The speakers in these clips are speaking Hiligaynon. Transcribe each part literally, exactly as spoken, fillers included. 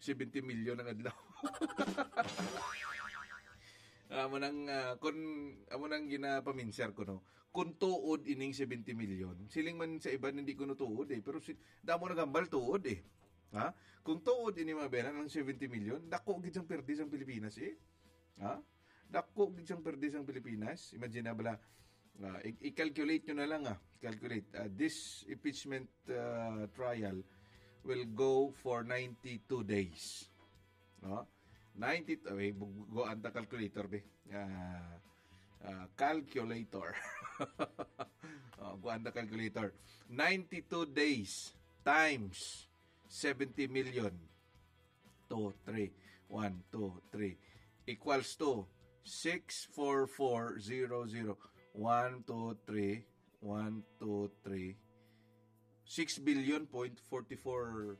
seventy million ang adlaw. Amo nang, ah, kun, amo nang ginapaminsar ko, no? Kung tuod ining seventy million, siling man sa iban, hindi ko no tuod, eh. Pero si, damo naghambal tuod, eh. Ha? Kung tuod ini, mga bena, ng seventy million, dako gid sang perdi sang Pilipinas, eh. Ha? Dako gid sang perdi sang Pilipinas. Imagine na bala, ah, i- i-calculate nyo na lang, ah. Calculate. Ah, this impeachment, ah, trial will go for ninety-two days. No? Ninety, ay, bu- guwaan ta calculator, be. Ah, ah, calculator. Oh, guwaan ta calculator. Ninety-two days times seventy million. Two, three. One, two, three. Equals to six four four zero zero. One, two, three. One, two, three. Six billion point forty-four,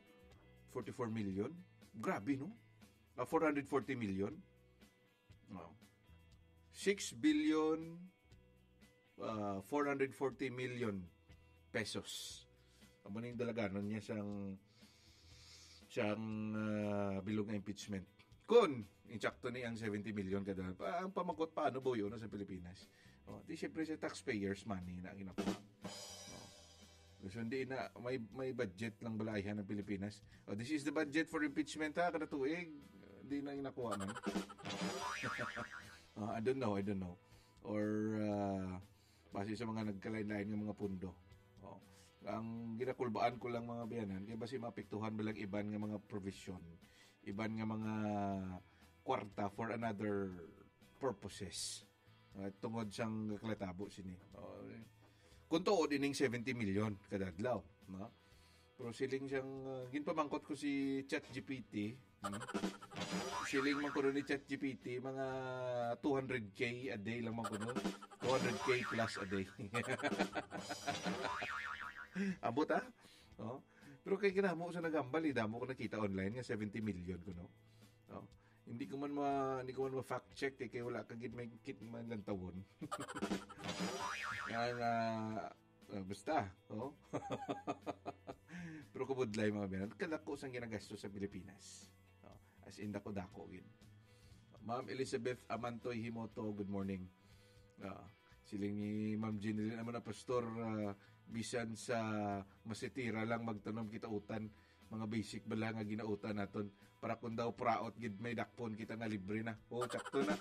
forty-four million. Grabe, no? Ah, four hundred forty million. Oh. Six billion, ah, four hundred forty million pesos. Amo ning dalaganon niya sang, sang, ah, bilog nga impeachment. Kun insakto ni ang seventy million kada, pa- ang pamakot, paano ba yun sa Pilipinas? Oh, di siyempre sa taxpayers' money na ginakuha. Oh. So, hindi na, may, may budget lang balay ang Pilipinas. Oh, this is the budget for impeachment, ha, kada tuig. Hindi na ginakuha man. Oh, I don't know, I don't know. Or, ah, base sa mga nagkalain-lain nga mga pundo. Oh. Ang ginakulbaan ko lang, mga biyanan, kay basi maapektuhan ba lang iban nga mga provision, iban nga mga kwarta for another purposes. Ah, tungod sang kalatabo sini. Oh, eh. Kung tuod ining seventy million kada adlaw, no? Pero siling siyang, ah, ginpamangkot ko si ChatGPT. Hmm? Siling man ko ni ChatGPT, mga two hundred K a day lang man ko, no? Two hundred K plus a day. Abot, ah? Oh. Pero kay kinamo sa nagambal, eh, damo ko nakita online nga seventy million ko, no? Oh. Hindi ko man ma, hindi ko man ma-fact check, eh, kay wala ka gid may kit man lantawon. Nga, nga, ah, basta, oh. Pero kubudlay, mga biyanan, kadako sang ginagastos sa Pilipinas. Oh, as in, dako-dako gid. Ma'am Elizabeth Amantoy Himoto, good morning. Ah, siling ni Ma'am Jeneline, amo na, Pastor, ah, bisan sa masitira lang magtanom kita utan, mga basic bala nga ginautan naton, para kung daw praot gid may dakpon kita nga libre na. Oh, sakto na.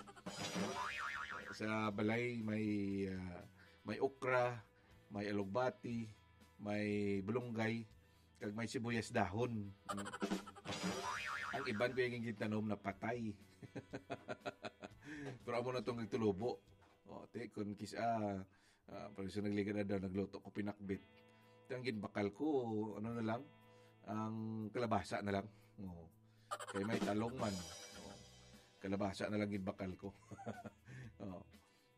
Sa balay may, ah, may okra, may alugbati, may bulunggay, kag may sibuyas dahon. Mm. Ang iban ko yung gitanom na patay. Pero amo na tong nagtulubo. O, te, kung kis-, ah, ah, pag sa nagligad na daw, nagluto ko pinakbit. Ang ginbakal ko, ano na lang, ang kalabasa na lang. Oo. Kay may talong man. Oo. Kalabasa na lang ginbakal ko. Oo.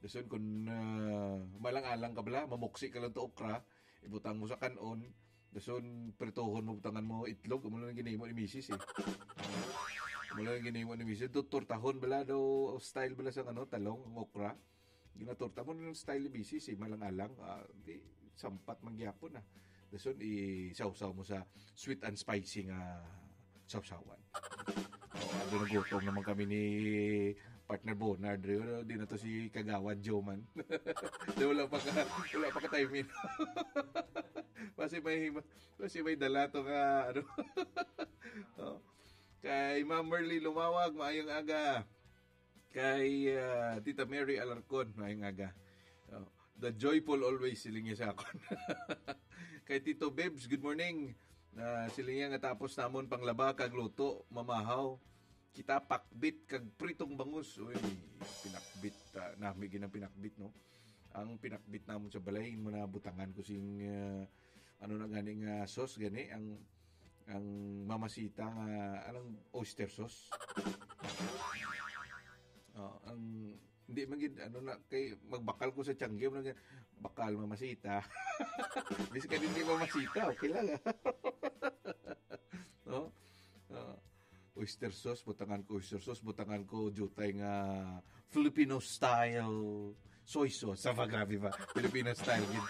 Dason kung, ah, malang-alang ka bala, mamuksi ka lang to okra, ibutang mo sa kanon, dason prituhon mo, butangan mo itlog, amo lang ginimo ni misis, eh. Amo lang ginimo ni misis. Do, tortahon bala daw, style bala sa, ano, talong, ang okra. Ginatorta mo ng style ni misis, eh, malang-alang, ah, di, sampat man gyapon, ah. Dason, isawsaw mo sa sweet and spicy nga sawsawan. Oh, ando, nagutom naman kami ni partner Bonard. Pero di na to si Kagawad Joe man. Di, wala pa ka, wala pa ka timing. Kasi may, kasi may dala to nga, ano. Oh. Kay Ma'am Merly Lumawag, maayong aga. Kay, ah, Tita Mary Alarcon, maayong aga. Oh, the joyful always, siling niya sa akon. Kay Tito Bebs, good morning. Ah, siling niya nga tapos namon panglaba kag luto, mamahaw. Kita pakbit kag pritong bangus. Uy, pinakbit, ah, nami ginang pinakbit, no? Ang pinakbit namon sa balay, mo na butangan ko sing, ah, ano na gani nga sauce gani, ang, ang mamasita nga, anong oyster sauce? Oh, ang, hindi man gid, ano na, kay magbakal ko sa tiyangge, mo na gid, bakal mamasita. Bisan hindi mamasita, okay lang, ah. No? Ah, oyster sauce, butangan ko oyster sauce, butangan ko jutay nga Filipino style soy sauce. Sa, grabe ba? Filipino style gid.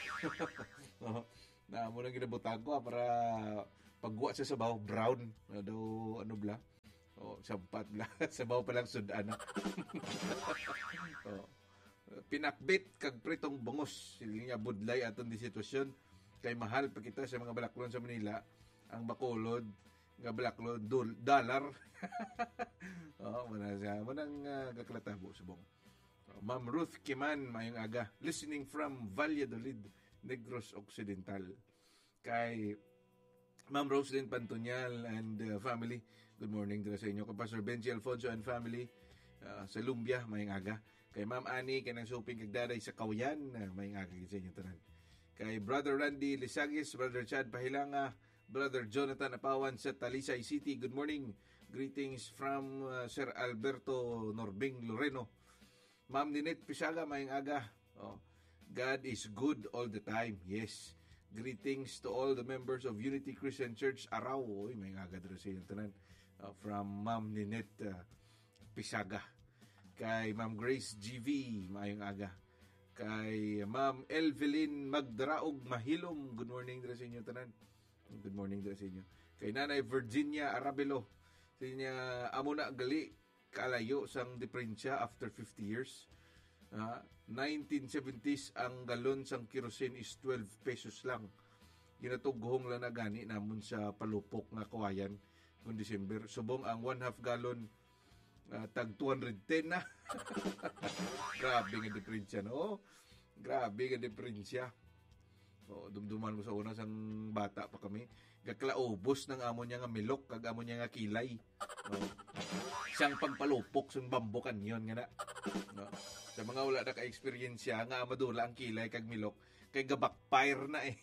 Oh, na mo lang ginabutang ko, ah, para pagwa sa sabaw, brown. Ano daw, ano bla? Oh, sampat lang. Sabaw pa lang sud-an na. Oh. Pinakbit kag pritong bungos. Sige nga, budlay aton di sitwasyon. Kay mahal pa kita sa mga balaklon sa Manila. Ang Bacolod nga balaklon, dol-, dollar. Oh, muna siya. Muna ang uh, gaklatabo, subong. Oh, Ma'am Ruth Kiman, mayong aga. Listening from Valladolid, Negros Occidental. Kay Ma'am Roslyn Pantonial and uh, family. Good morning dira sa inyo. Kay Pastor Benji Alfonso and family uh, sa Lumbia, mayong aga. Kay Ma'am Annie, kay nang shopping kag daday sa Kawayan, uh, mayong aga gid sa inyo tanan. Kay Brother Randy Lisagis, Brother Chad Pahilanga, Brother Jonathan Apawan sa Talisay City. Good morning. Greetings from uh, Sir Alberto Norbing Loreno. Ma'am Ninette Pisaga, mayong aga. Oh, God is good all the time. Yes. Greetings to all the members of Unity Christian Church Arao. Uy, mayong aga dira sa inyo tanan. Uh, from Ma'am Ninette uh, Pisaga. Kay Ma'am Grace G V, mayong aga. Kay Ma'am Elvelyn Magdaraog Mahilom, good morning dira sa inyo tanan. Good morning dira sa inyo. Kay Nanay Virginia Arabelo, sa inyo, amo na gali kalayo sang diperensya after fifty years. Ah, nineteen seventies, ang galon sang kerosene is twelve pesos lang. Ginatughong lang na gani namon sa palupok nga Kawayan kung December. Subong ang one half gallon, ah, tag two hundred ten na. Grabe nga diperensya, no? Grabe nga diperensya. Oh, dumduman ko sa una sang bata pa kami. Gakalaubos ng amo niya nga milok kag amo niya nga kilay. Oh. Sang pagpalupok sang bamboo canyon nga na. No? Sa mga wala na ka-experience nga madula ang kilay kag milok, kay ga-backfire na eh.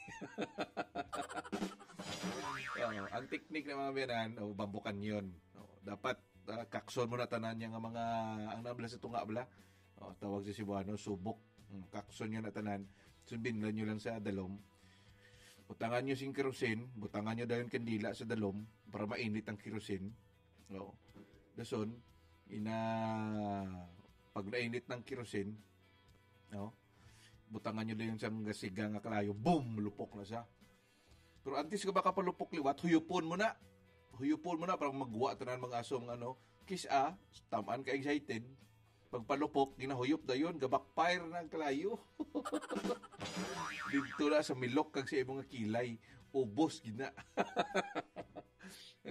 Oh, ang technique ng mga biyanan, oh, bamboo canyon. Oh, dapat ah, kakson mo na tanan niya nga mga, ang nabla sa tunga bala. Oh, tawag sa Cebuano, subok. Mm, kakson nyo na tanan. Sundinlan nyo lang sa dalom. Butangan nyo sing kerosene, butangan nyo dayon kandila sa dalom para mainit ang kerosene. Oh. Dason, ina, pag nainit ng kerosene, no? Butangan nyo dayon sang gasiga nga kalayo, boom, lupok na siya. Pero antes ka makapalupok liwat, huyupon mo na. Huyupon mo na para magwa tanan mga aso, mga ano. Kis-a, tamaan ka excited. Pagpalupok, ginahuyop dayon, ga-backfire na ang kalayo. Dito na sa milok kag sa imong kilay. Ubos gina.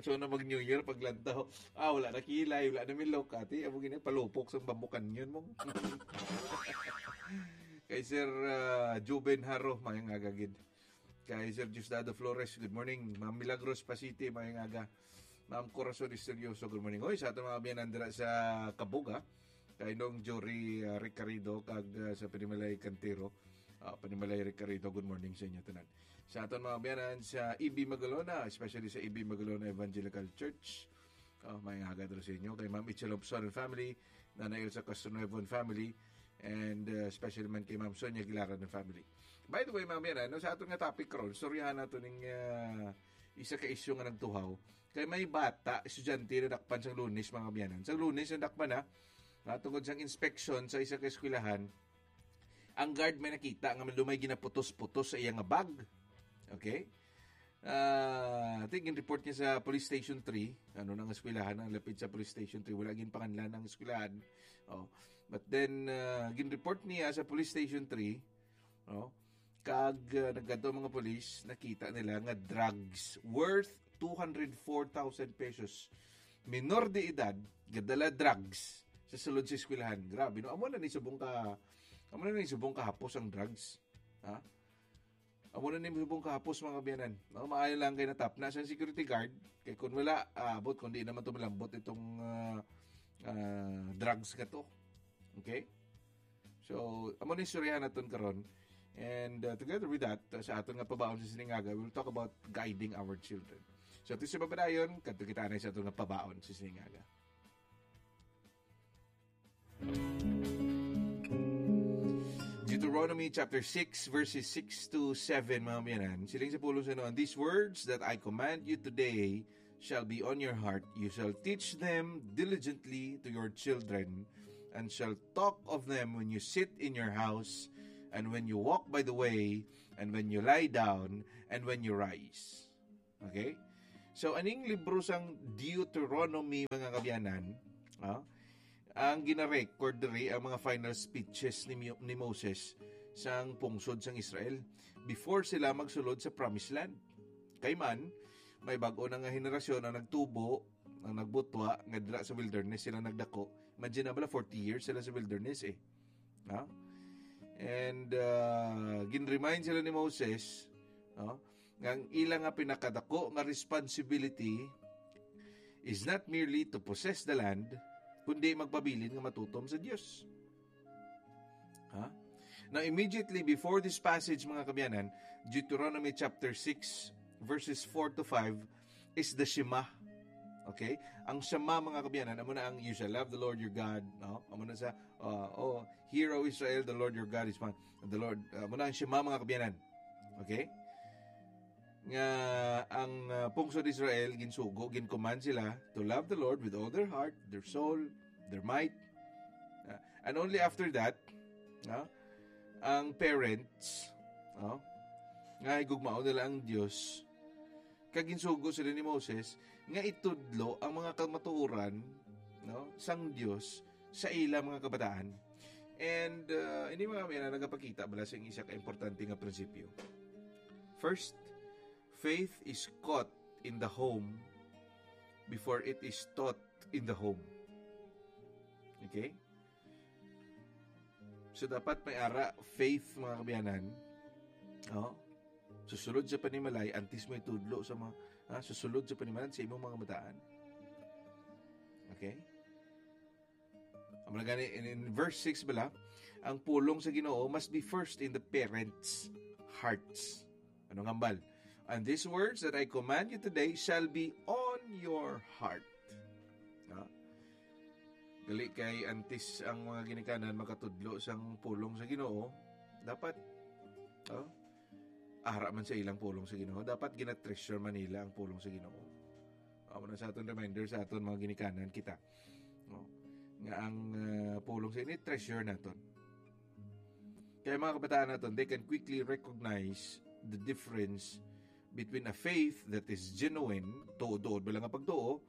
So na mag New Year, paglantaw, ah, wala na kilay, wala na milok, ati, amo gina, palupok sa bamboo canyon mo. Kay Sir uh, Juben Haro, mayang agagid. Kay Sir Diosdado Flores, good morning. Ma'am Milagros Pasiti, mayang aga. Ma'am Corazon Misterioso, good morning. Hoy, sa aton mga biyanan dira sa Kabuga, kay Nong Jory uh, Ricardo, kag uh, sa Panimalay Cantero. Uh, Panimalay Ricardo, good morning sa inyo tanan. Sa aton mga biyanan sa E B Magalona, especially sa E B Magalona Evangelical Church, uh, may agad sa inyo. Kay Ma'am Itzel Lobson and family, Nanay Elsa Castronuevo and family, and uh, especially man kay Ma'am Sonia Gilaran and family. By the way, mga biyanan, no, sa aton nga topic karon, istoryahan nato ning uh, isa ka isyu nga nagtuhaw. Kay may bata, estudyante na dakpan sang Lunes, mga biyanan. Sang Lunes na dakpan na, natungod sang inspection sa isa ka eskwelahan, ang guard may nakita nga may ginaputos-putos sa iya nga bag. Okay? Ah, I think gin-report niya sa Police Station three, ano, nang eskwelahan, ang lapit sa Police Station three, wala ginpanganlan ang eskwelahan. Oh. But then, ah, gin-report niya sa Police Station three, no? Kag ah, nagkadto ang mga police, nakita nila nga drugs worth two hundred four thousand pesos. Minor de edad, gadala drugs sa sulod sa eskwelahan. Grabe, no? Amo na ni subong ka, amo na ni subong kahapos ang drugs. Ha? Amo na ni subong kahapos, mga biyanan. No? Maayo lang kay natapna sa security guard. Kay kung wala, ah, abot, kung di naman to malambot itong ah, ah, drugs ka to. Okay? So, amo ni istoryahan naton karon. And uh, together with that, uh, sa aton nga pabaon sa sining aga, we'll talk about guiding our children. So, ito sa papadayon, kadto kita na sa aton nga pabaon sa sining aga. Deuteronomy chapter six, verses six to seven, mga biyanan. Siling sa pulong sa Noon, "These words that I command you today shall be on your heart. You shall teach them diligently to your children, and shall talk of them when you sit in your house, and when you walk by the way, and when you lie down, and when you rise." Okay? So, aning libro sang Deuteronomy, mga kaabyanan, ah, ang gina-record diri ang mga final speeches ni Mo-, ni Moses sang pungsod sang Israel before sila magsulod sa Promised Land. Kay man, may bag-o na nga henerasyon ang nagtubo, ang nagbutwa, nga dira sa wilderness sila nagdako. Imagine na bala, forty years sila sa wilderness eh. Ha? And, uh, gin-remind sila ni Moses, no, nga ang ila nga pinakadako nga responsibility is not merely to possess the land, kundi magpabilin nga matutom sa Dios. Ha? Now, immediately before this passage, mga kaabyanan, Deuteronomy chapter six, verses four to five, is the Shema. Okay? Ang Shema, mga kaabyanan, amo na ang "You shall love the Lord your God," no? Amo na sa, uh, "Oh, hear, O Israel, the Lord your God is one." The Lord, uh, amo na ang Shema, mga kaabyanan. Okay? Nga ang, uh, pungsod Israel, ginsugo, gin-command sila to love the Lord with all their heart, their soul, their might. Uh, and only after that, no, ang parents, no, nga higugmaon nila ang Dios, kag ginsugo sila ni Moses nga itudlo ang mga kamatuoran, no, sang Dios sa ila mga kabataan. And, uh, ini, mga kaabyanan, nagapakita bala sing isa ka importante nga prinsipyo. First, faith is caught in the home before it is taught in the home. Okay? So, dapat may ara faith, mga kaabyanan. Oh. Susulod sa panimalay, antes mo itudlo sa mga, ah, susulod sa panimalay sa imong mga kabataan. Okay? Amo na gani, in, in verse six bala, ang pulong sa Ginoo must be first in the parents' hearts. Ano nga hambal? "And these words that I command you today shall be on your heart." Ha? Gali kay antes ang mga ginikanan makatudlo sang pulong sa Ginoo, dapat, oh, ara man sa ilang pulong sa Ginoo, dapat gina-treasure man nila ang pulong sa Ginoo. Amo na sa aton reminder sa aton mga ginikanan kita, no? Nga ang, uh, pulong sa ini treasure naton. Kaya mga kabataan naton, they can quickly recognize the difference between a faith that is genuine, tuod-tuod ba lang ang pagtuo,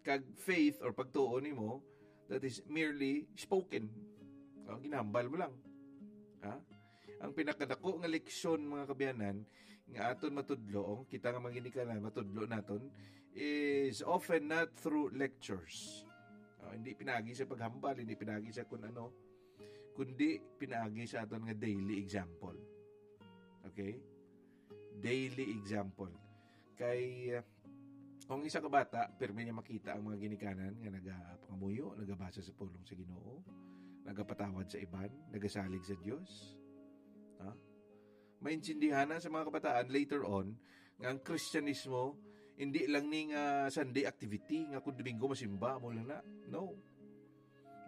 kag faith or pagtuo nimo that is merely spoken. Oh, ginahambal mo lang. Ha? Ang pinakadako nga leksyon, mga kaabyanan, nga aton matudlo, oh, kita nga mga ginikanan, matudlo naton, is often not through lectures. Oh, hindi pinaagi sa paghambal, hindi pinaagi sa kun ano, kundi pinaagi sa aton nga daily example. Okay? Daily example. Kay, uh, kung isa ka bata, pirmi niya makita ang mga ginikanan nga nagapangamuyo, nagabasa sa pulong sa Ginoo, nagapatawad sa iban, nagasalig sa Dios. Ha? Maintindihan na sa mga kabataan later on nga ang Kristiyanismo hindi lang ni nga Sunday activity nga kung Domingo masimba mo lang na. No.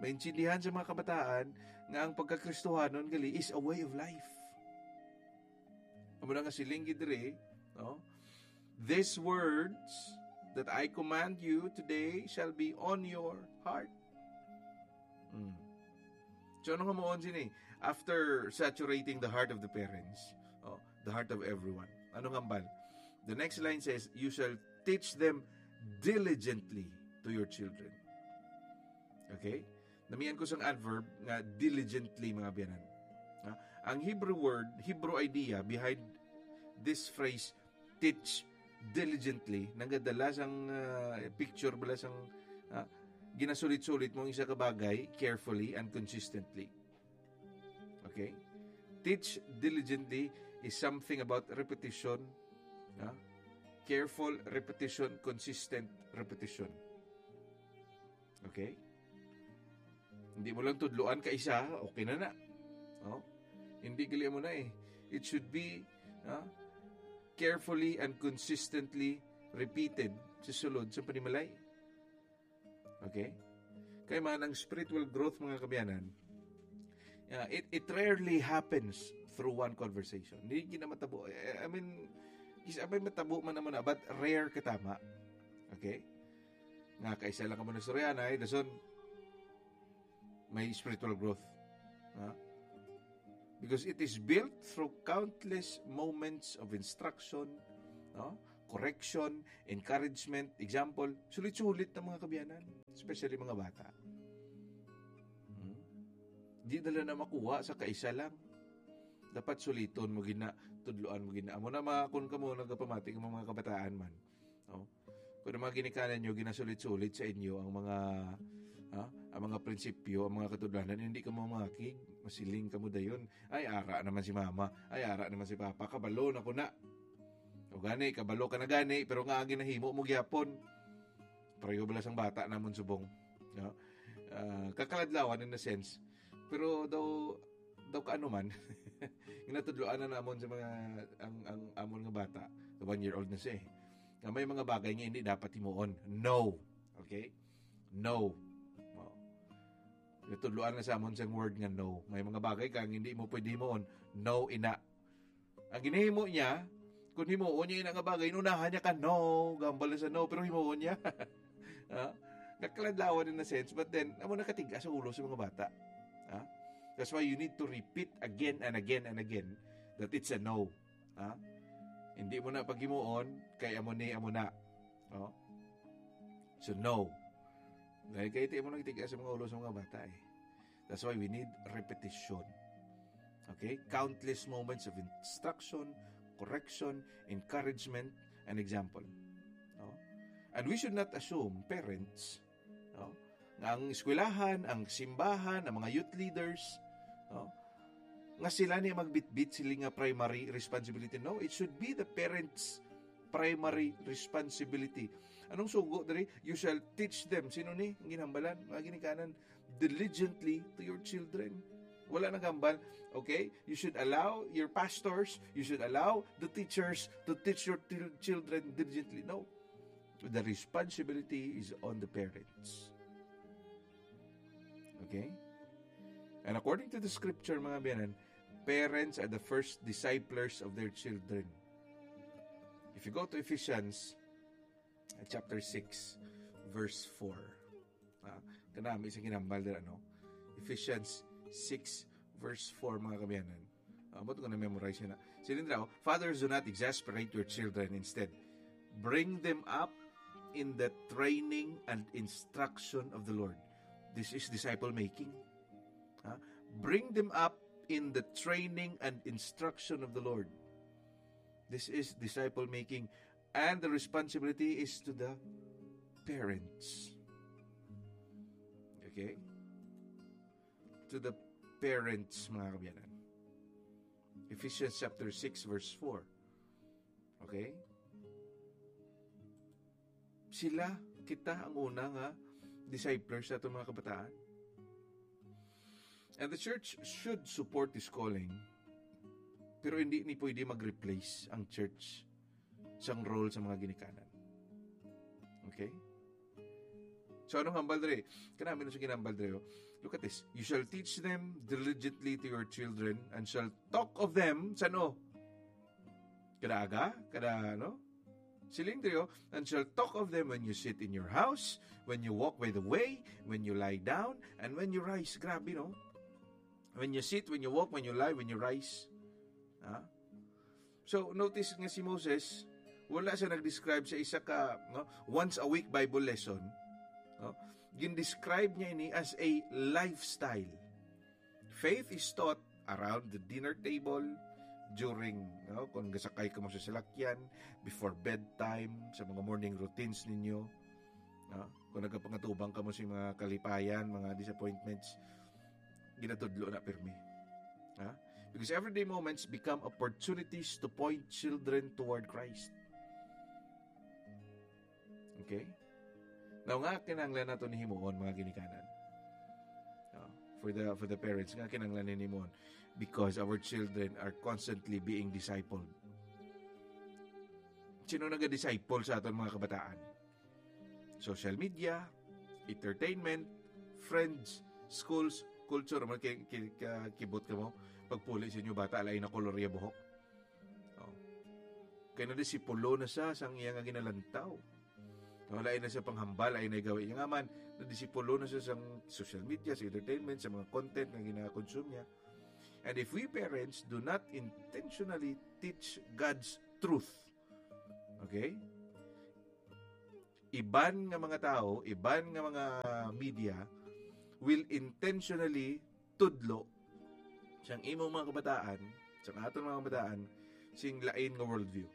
Maintindihan sa mga kabataan nga ang pagkakristohanon gali is a way of life. Amo na nga siling gid diri, no? "These words that I command you today shall be on your heart." Hmm. So, ano nga moon sini? After saturating the heart of the parents, oh, the heart of everyone. Ano nga hambal? The next line says, "You shall teach them diligently to your children." Okay? Namian ko sang adverb nga diligently, mga kaabyanan. Ha? Ang Hebrew word, Hebrew idea behind this phrase, "teach diligently," nagadala sang, ah, picture bala sang, ah, ginasulit-sulit mo ang isa ka bagay carefully and consistently. Okay? Teach diligently is something about repetition, ha? Careful repetition, consistent repetition. Okay? Hindi mo lang tudloan ka isa, okay na na. Oh? Hindi gali mo na eh. It should be, ah, carefully and consistently repeated sa sulod sa panimalay. Okay? Kay man ang spiritual growth, mga kaabyanan, ah, it, it rarely happens through one conversation. Hindi gina matabo. Eh, I mean, is, I mean, matabo man naman na, but rare katama. Okay? Nga kaisa lang ka mo nastoryahanay, dason, may spiritual growth. Ha? Because it is built through countless moments of instruction, no? correction, encouragement, example, sulit-sulit na mga kabiyanan, especially mga bata. Hmm? Di nila na makuha sa kaisa lang. Dapat suliton mo gina, tudloan mo gina. Amo na mga, kung kamo nagapamati ng mga kabataan man. Oh. Kung ang mga ginikanan nyo, ginasulit-sulit sa inyo ang mga, ha, ang mga prinsipyo, ang mga katudlanan, hindi ka mamangakig, masiling ka mo dayon. Ay, ara naman si mama. Ay, ara naman si papa. Kabalo na ko na. O gani, kabalo ka na gani, pero nga agi nahimo mo gyapon. Pareho bala sang bata namon subong. No? Ah, kakaladlawan in a sense. Pero daw, daw kaano man, ginatudloan na namon sa mga, ang, ang amon nga bata, one year old na siya eh, nga may mga bagay nga hindi dapat himuon. No. Okay? No. Oh. Ginatudloan na sa amon sa word nga no. May mga bagay kang hindi mo pwede himuon. No, ina. Ang ginahimo niya, kung himuon niya ina nga bagay, inunahan niya ka, no, gambal na sa no, pero himuon niya. Ha? Kakaladlawan in a sense, but then, amo nakatiga sa ulo sa mga bata. Ha? That's why you need to repeat again and again and again that it's a no. Ha? Hindi mo na paghimuon, kay amo ni, amo na. Oh? So, no. Dahil kay ito mo nagtiga sa mga ulo sa mga bata eh. That's why we need repetition. Okay? Countless moments of instruction, correction, encouragement, and example. No? And we should not assume, parents, no, nga ang eskwelahan, ang simbahan, ang mga youth leaders, no, nga sila ni magbitbit sila nga primary responsibility. No, it should be the parents' primary responsibility. Anong sugo diri? "You shall teach them." Sino ni? Ang ginhambalan, mga ginikanan, "Diligently to your children." Wala nang hambal. Okay? You should allow your pastors, you should allow the teachers to teach your til- children diligently. No. The responsibility is on the parents. Okay? And according to the scripture, mga biyanan, parents are the first disciplers of their children. If you go to Ephesians, uh, chapter six, verse four. Ah, kanami sa ginambal dira, no? Ephesians six, verse four, mga kabiyanan. Ah, ba't ko na-memorize yun, ah? Siling daw, "Fathers, do not exasperate your children. Instead, bring them up in the training and instruction of the Lord." This is disciple making. Ah, bring them up in the training and instruction of the Lord. This is disciple making. And the responsibility is to the parents. Okay? To the parents, mga kabiyanan. Ephesians chapter six, verse four. Okay? Sila, kita ang una nga disciples sa atong mga kabataan. And the church should support this calling, pero hindi ni pwede mag-replace ang church sang role sa mga ginikanan. Okay? So, anong hambal diri? Kanami na sa ginambal diri, oh. Look at this. "You shall teach them diligently to your children and shall talk of them," sano? Kada aga? Kada, ano? Siling diri, oh, "And shall talk of them when you sit in your house, when you walk by the way, when you lie down, and when you rise." Grabe, no? "When you sit, when you walk, when you lie, when you rise." Ha? So, notice nga si Moses, wala siya nag-describe sa isa ka, no, once a week Bible lesson. No? Gin-describe niya ini as a lifestyle. Faith is taught around the dinner table, during, no, kung gasakay ka mo sa salakyan, before bedtime, sa mga morning routines ninyo. No? Kung nagapangatubang ka mo sa mga kalipayan, mga disappointments, ginatudlo na pirmi. Ha? Because everyday moments become opportunities to point children toward Christ. Okay? Now, nga kinahanglan nato ni himuon, mga ginikanan? No? For the, for the parents, nga kinahanglan ni himuon? Because our children are constantly being discipled. Sino naga-disciple sa aton mga kabataan? Social media, entertainment, friends, schools, culture, man kay, kay, ka-, kibot ka mo, pagpuli sa inyo bata, lain na kolor iya buhok. Oh. Kay nadisipulo na siya sang iya nga ginalantaw. Wala na siya panghambal, ay nagawi niya nga man, nadisipulo na siya sang social media, sa entertainment, sa mga content nga gina-consume niya. And if we parents do not intentionally teach God's truth, Okay? Iban nga mga tao, iban nga mga media will intentionally tudlo sang imong mga kabataan, sang aton mga kabataan, sing lain nga worldview.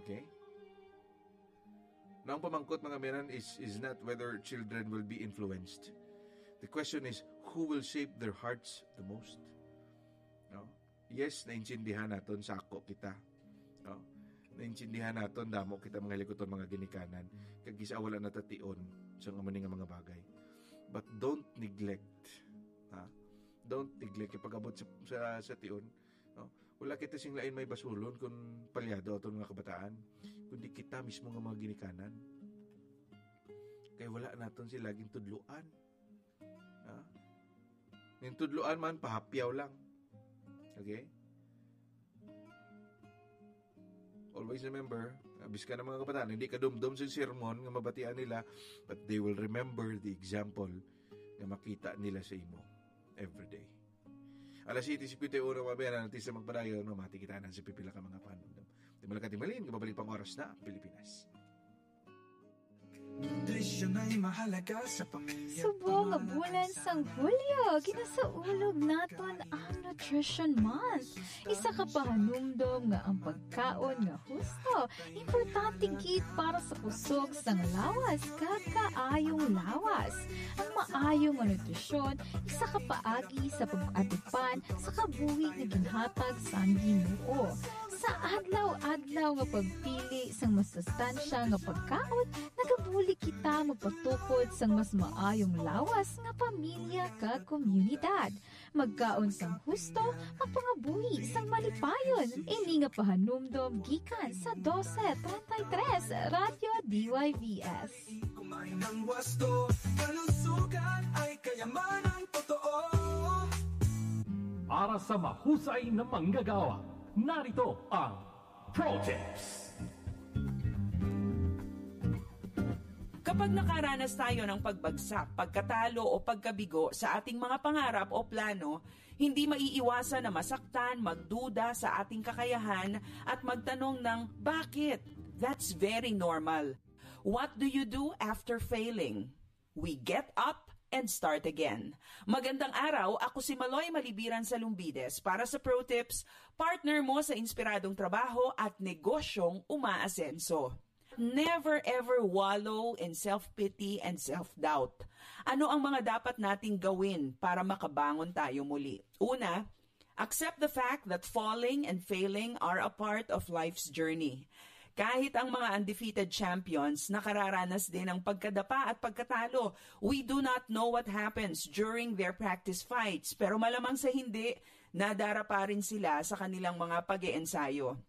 Okay? Now, ang pamangkot, mga minan, is, is not whether children will be influenced. The question is, who will shape their hearts the most? No? Yes, naintindihan naton sa ako kita. No? Naintindihan naton damo kita mga likuton, mga ginikanan. Kag kis-a wala natation sa mga nga mga bagay. But don't neglect. Ha? Don't neglect yung pag-abot sa, sa, sa tion. No? Wala kita sing lain may basulon kung palyado aton mga kabataan, kundi kita mismo nga mga ginikanan. Kay wala naton sila gintudloan. Ha? Ning tudloan man, pahapyaw lang. Okay? Always remember, ah, bisan ang mga kabataan, hindi kadumdom sa sermon nga mabatian nila, but they will remember the example nga makita nila sa imo every day. Alas siyete cincuenta y uno, mga bayan, ang artista magpadayon, mamati kita na sa pipila ka mga panundam. Di malagkat, di malin, kababalik pang oras na, Pilipinas. Nutrisyon ay mahalaga sa pamilya. Subong nga bulan sang Hulyo, ginasaulog naton ang Nutrition Month. Isa ka pahanumdom nga ang pagkaon nga husto importante gid para sa kusog sang lawas kag kaayong lawas. Ang maayo nga nutrisyon isa ka paagi sa pag-atipan sa kabuhi nga ginhatag sang Ginoo. Sa adlaw-adlaw nga pagpili sang masustansya nga pagkaon, nagabulig kita magpatukod sang mas maayong lawas nga pamilya kag komunidad. Magkaon sang husto, magpangabuhi sang malipayon. Ini nga pahanumdom gikan sa dose treinta y tres Radyo D Y V S. Kumain ng wasto, kalusugan ay kayamanan totoo. Para sa mahusay na manggagawa, narito ang Pro Tips. Kapag nakaranas tayo ng pagbagsak, pagkatalo o pagkabigo sa ating mga pangarap o plano, hindi maiiwasan na masaktan, magduda sa ating kakayahan at magtanong ng bakit? That's very normal. What do you do after failing? We get up and start again. Magandang araw, ako si Maloy Malibiran Salumbides para sa Pro Tips, partner mo sa inspiradong trabaho at negosyong umaasenso. Never ever wallow in self-pity and self-doubt. Ano ang mga dapat nating gawin para makabangon tayo muli? Una, accept the fact that falling and failing are a part of life's journey. Kahit ang mga undefeated champions, nakararanas din ng pagkadapa at pagkatalo. We do not know what happens during their practice fights, pero malamang sa hindi, nadarapa rin sila sa kanilang mga pag-eensayo.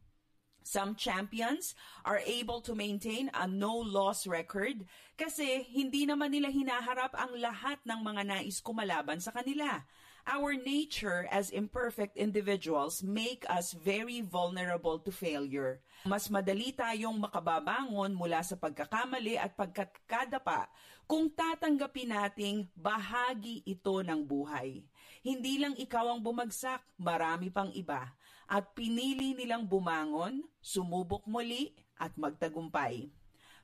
Some champions are able to maintain a no-loss record kasi hindi naman nila hinaharap ang lahat ng mga nais kumalaban sa kanila. Our nature as imperfect individuals make us very vulnerable to failure. Mas madali tayong makababangon mula sa pagkakamali at pagkakadapa kung tatanggapin nating bahagi ito ng buhay. Hindi lang ikaw ang bumagsak, marami pang iba. At pinili nilang bumangon, sumubok muli, at magtagumpay.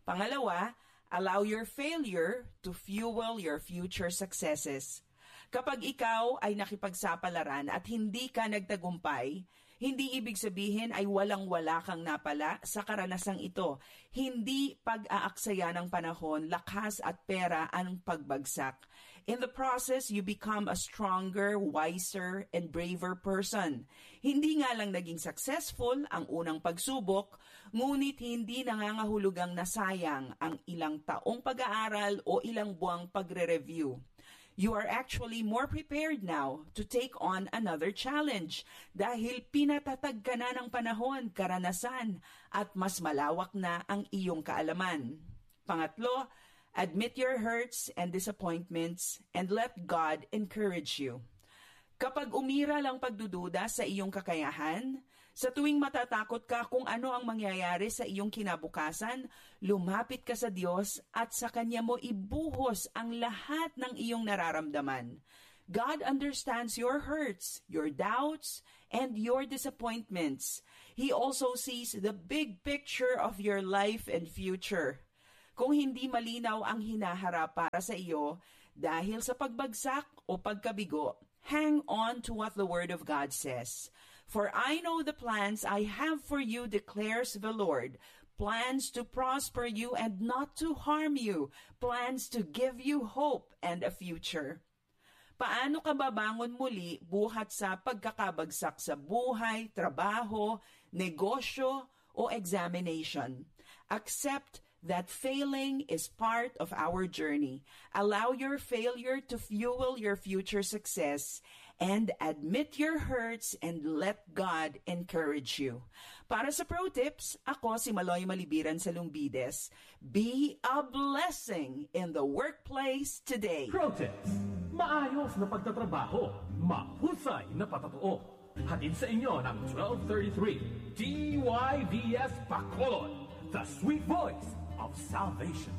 Pangalawa, allow your failure to fuel your future successes. Kapag ikaw ay nakipagsapalaran at hindi ka nagtagumpay, hindi ibig sabihin ay walang-wala kang napala sa karanasang ito. Hindi pag-aaksaya ng panahon, lakas at pera ang pagbagsak. In the process, you become a stronger, wiser, and braver person. Hindi nga lang naging successful ang unang pagsubok, ngunit hindi nangangahulugang nasayang ang ilang taong pag-aaral o ilang buwang pagre-review. You are actually more prepared now to take on another challenge dahil pinatatag ka na ng panahon, karanasan, at mas malawak na ang iyong kaalaman. Pangatlo, admit your hurts and disappointments and let God encourage you. Kapag umiral ang pagdududa sa iyong kakayahan, sa tuwing matatakot ka kung ano ang mangyayari sa iyong kinabukasan, lumapit ka sa Diyos at sa Kanya mo ibuhos ang lahat ng iyong nararamdaman. God understands your hurts, your doubts, and your disappointments. He also sees the big picture of your life and future. Kung hindi malinaw ang hinaharap para sa iyo dahil sa pagbagsak o pagkabigo, hang on to what the Word of God says. "For I know the plans I have for you," declares the Lord, "plans to prosper you and not to harm you, plans to give you hope and a future." Paano ka babangon muli buhat sa pagkakabagsak sa buhay, trabaho, negosyo, o examination? Accept that failing is part of our journey. Allow your failure to fuel your future success and admit your hurts and let God encourage you. Para sa Pro Tips, ako si Maloy Malibiran sa Lumbides. Be a blessing in the workplace today. Pro Tips. Maayos na pagtatrabaho, mahusay na patatuo. Hatid sa inyo ng twelve thirty-three D Y V S Bacolod, the sweet voice of salvation.